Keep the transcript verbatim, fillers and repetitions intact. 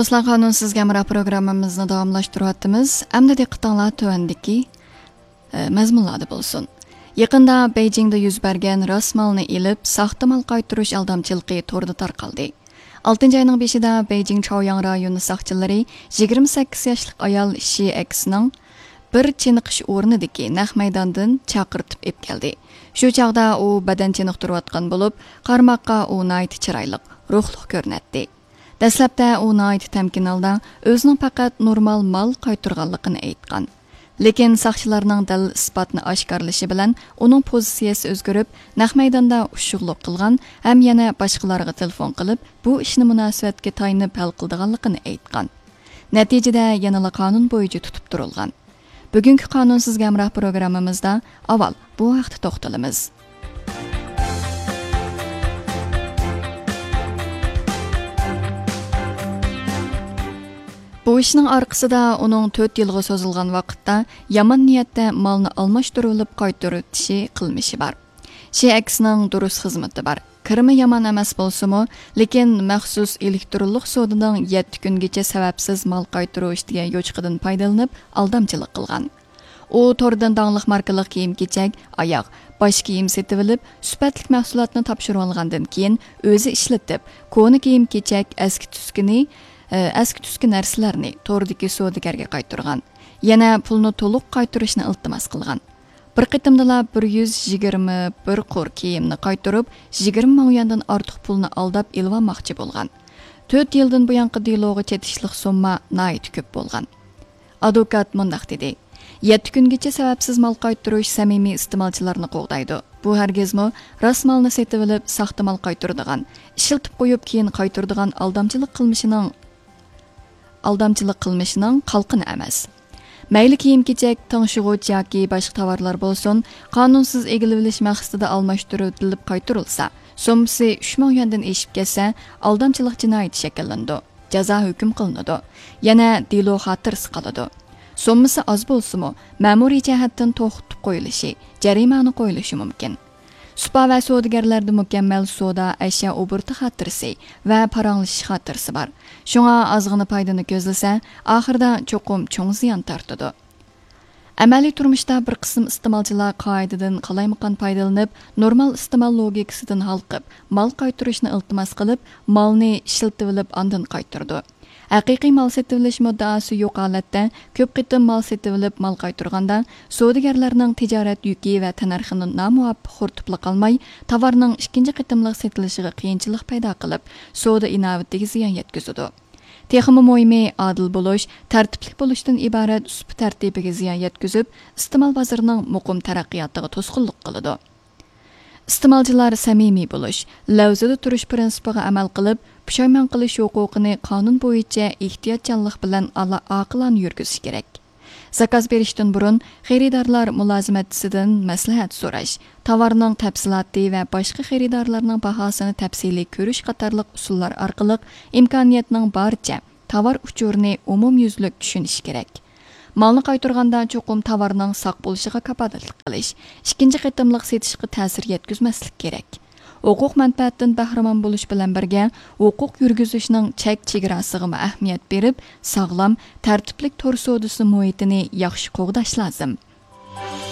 دوستلار، قانۇنسىز ھەمراھ پروگراممىمىزنى داۋاملاشتۇرۇۋاتىمىز. ئەمدى دىققىتىڭلار تۆۋەندىكى، ئە، مەزمۇنلاردا بولسۇن. يېقىندا بېيجىڭدا يۈز بەرگەن راس مالنى ئېلىپ، ساختا مال قايتۇرۇش ئالدامچىلىقى توردا تارقالدى. ئالتىنچى ئاينىڭ بېشىدا بېيجىڭ چاۋياڭ رايونى ساقچىلىرى يىگىرمە سەككىز ياشلىق ئايال شى ئەكسىنىڭ بىر چېنىقىش ئورنىدىكى نەق مەيداندىن چاقىرتىپ ئېلىپ كەلدى. شۇ چاغدا ئۇ بەدەن چېنىقتۇرۇۋاتقان بولۇپ، قارىماققا ئۇ ناھايىتى چىرايلىق، روھلۇق كۆرۈنەتتى. دەسلەپتە ئۇ ناھايىتى تەمكىن ھالدا ئۆزىنىڭ پەقەت نورمال مال قايتۇرغانلىقىنى ئېيتقان. لېكىن ساقچىلارنىڭ دەلىل ئىسپاتنى ئاشكارىلىشى بىلەن ئۇنىڭ پوزىتسىيەسى ئۆزگىرىپ، نەق مەيداندا ئۇششۇقلۇق قىلغان ھەم يەنە باشقىلارغا تېلېفون قىلىپ، بۇ ئىشنى مۇناسىۋەتكە تايىنىپ ھەل قىلىدىغانلىقىنى ئېيتقان. نەتىجىدە يەنىلا قانۇن بويىچە تۇتۇپ تۇرۇلغان. بۈگۈنكى قانۇنسىز ھەمراھ پروگراممىمىزدا ئاۋۋال بۇ ھەقتە توختىلىمىز. بۇ ئىشنىڭ ئارقىسىدا ئۇنىڭ تۆت يىلغا سوزۇلغان ۋاقىتتا يامان نىيەتتە مالنى ئالماشتۇرۇۋېلىپ قايتۇرۇۋېتىشى قىلمىشى بار. شى ئەكسىنىڭ دۇرۇس خىزمىتى بار. كىرىمى يامان ئەمەس بولسىمۇ، لېكىن مەخسۇس ئېلېكترونلۇق سودىنىڭ يەتتە كۈنگىچە سەۋەبسىز مال قايتۇرۇش دېگەن يوچۇقىدىن پايدىلىنىپ ئالدامچىلىق قىلغان. ئۇ توردىن داڭلىق ماركىلىق كىيىم-كېچەك، ئاياغ، باش كىيىم سېتىۋېلىپ، سۈپەتلىك مەھسۇلاتنى تاپشۇرۇۋالغاندىن كېيىن، ئۆزى ئىشلىتىپ، كونا كىيىم-كېچەك، ئەسكى تۈسكىنى، ئە، ئەسكى تۈسكى نەرسىلەرنى توردىكى سودىگەرگە قايتۇرغان. يەنە پۇلنى تولۇق قايتۇرۇشنى ئىلتىماس قىلغان. بىر قېتىمدىلا بىر يۈز يىگىرمە بىر قۇر كىيىمنى قايتۇرۇپ، يىگىرمە مىڭ يۈەندىن ئارتۇق پۇلنى ئالداپ ئېلىۋالماقچى بولغان. تۆت يىلدىن بۇيانقى دېلوغا چېتىشلىق سومما ناھايىتى كۆپ بولغان. ئادۋوكات مۇنداق دېدى: «يەتتە كۈنگىچە سەۋەبسىز مال قايتۇرۇش سەمىمىي ئىستېمالچىلارنى قوغدايدۇ. بۇ ھەرگىزمۇ راست مالنى سېتىۋېلىپ، ساختا مال قايتۇرىدىغان، ئىشلىتىپ قويۇپ، كېيىن قايتۇرىدىغان ئالدامچىلىق قىلمىشىنىڭ، ئالدامچىلىق قىلمىشىنىڭ قالقىنى ئەمەس.» مەيلى كىيىم-كېچەك، تىڭشىغۇچ ياكى باشقا تاۋارلار بولسۇن، قانۇنسىز ئىگىلىۋېلىش مەقسىتىدە ئالماشتۇرۇۋېتىلىپ قايتۇرۇلسا، سوممىسى ئۈچ مىڭ يۈەندىن ئېشىپ كەتسە، ئالدامچىلىق جىنايىتى شەكىللىنىدۇ، جازا ھۆكۈم قىلىنىدۇ، يەنە دېلو خاتىرىسى قالىدۇ. سوممىسى ئاز بولسىمۇ، مەمۇرىي جەھەتتىن توختىتىپ قويۇلۇشى، جەرىمانە قويۇلۇشى مۇمكىن. سۇپا ۋە سودىگەرلەردە مۇكەممەل سودا، ئەشيا ئوبوروتى خاتىرىسى ۋە پاراڭلىشىش خاتىرىسى بار. شۇڭا ئازغىنا پايدىنى كۆزلىسە، ئاخىرىدا چوقۇم چوڭ زىيان تارتىدۇ. ئەمەلىي تۇرمۇشتا بىر قىسىم ئىستېمالچىلار قائىدىدىن قالايمىقان پايدىلىنىپ، نورمال ئىستېمال لوگىكىسىدىن ھالقىپ، مال قايتۇرۇشنى ئىلتىماس قىلىپ، مالنى ئىشلىتىۋېلىپ ئاندىن قايتۇرىدۇ. ھەقىقىي مال سېتىۋېلىش مۇددىئاسى يوق ھالەتتە كۆپ قېتىم مال سېتىۋېلىپ مال قايتۇرغاندا، سودىگەرلەرنىڭ تىجارەت يۈكى ۋە تەننەرخىنى نامۇۋاپىق خورىتىپلا قالماي، تاۋارنىڭ ئىككىنچى قېتىملىق سېتىلىشىغا قىيىنچىلىق پەيدا قىلىپ، سودا ئىناۋىتىگە زىيان يەتكۈزىدۇ. تېخىمۇ مۇھىمى، ئادىل بولۇش، تەرتىپلىك بولۇشتىن ئىبارەت سۇپا تەرتىپىگە زىيان يەتكۈزۈپ، ئىستېمال بازىرىنىڭ مۇقىم تەرەققىياتىغا توسقۇنلۇق قىلىدۇ. ئىستېمالچىلار سەمىمىي بولۇش، لەۋزىدە تۇرۇش پىرىنسىپىغا ئەمەل قىلىپ، پۇشايمان قىلىش ھوقۇقىنى قانۇن بويىچە ئېھتىياتچانلىق بىلەن ئالا-، ئاقىلانە يۈرگۈزۈشى كېرەك. زاكاز بېرىشتىن بۇرۇن، خېرىدارلار مۇلازىمەتچىسىدىن مەسلىھەت سوراش، تاۋارنىڭ تەپسىلاتى ۋە باشقا خېرىدارلارنىڭ باھاسىنى تەپسىلىي كۆرۈش قاتارلىق ئۇسۇللار ئارقىلىق ئىمكانىيەتنىڭ بارىچە تاۋار ئۇچۇرىنى ئومۇميۈزلۈك چۈشىنىشى كېرەك. مالنى قايتۇرغاندا چوقۇم تاۋارنىڭ ساق بولۇشىغا كاپالەتلىك قىلىش، ئىككىنچى قېتىملىق سېتىشقا تەسىر يەتكۈزمەسلىك كېرەك. ھوقۇق مەنپەئەتتىن بەھرىمەن بولۇش بىلەن بىرگە، ھوقۇق يۈرگۈزۈشنىڭ چەك چېگراسىغىمۇ ئەھمىيەت بېرىپ، ساغلام، تەرتىپلىك تور سودىسى مۇھىتىنى ياخشى قوغداش لازىم.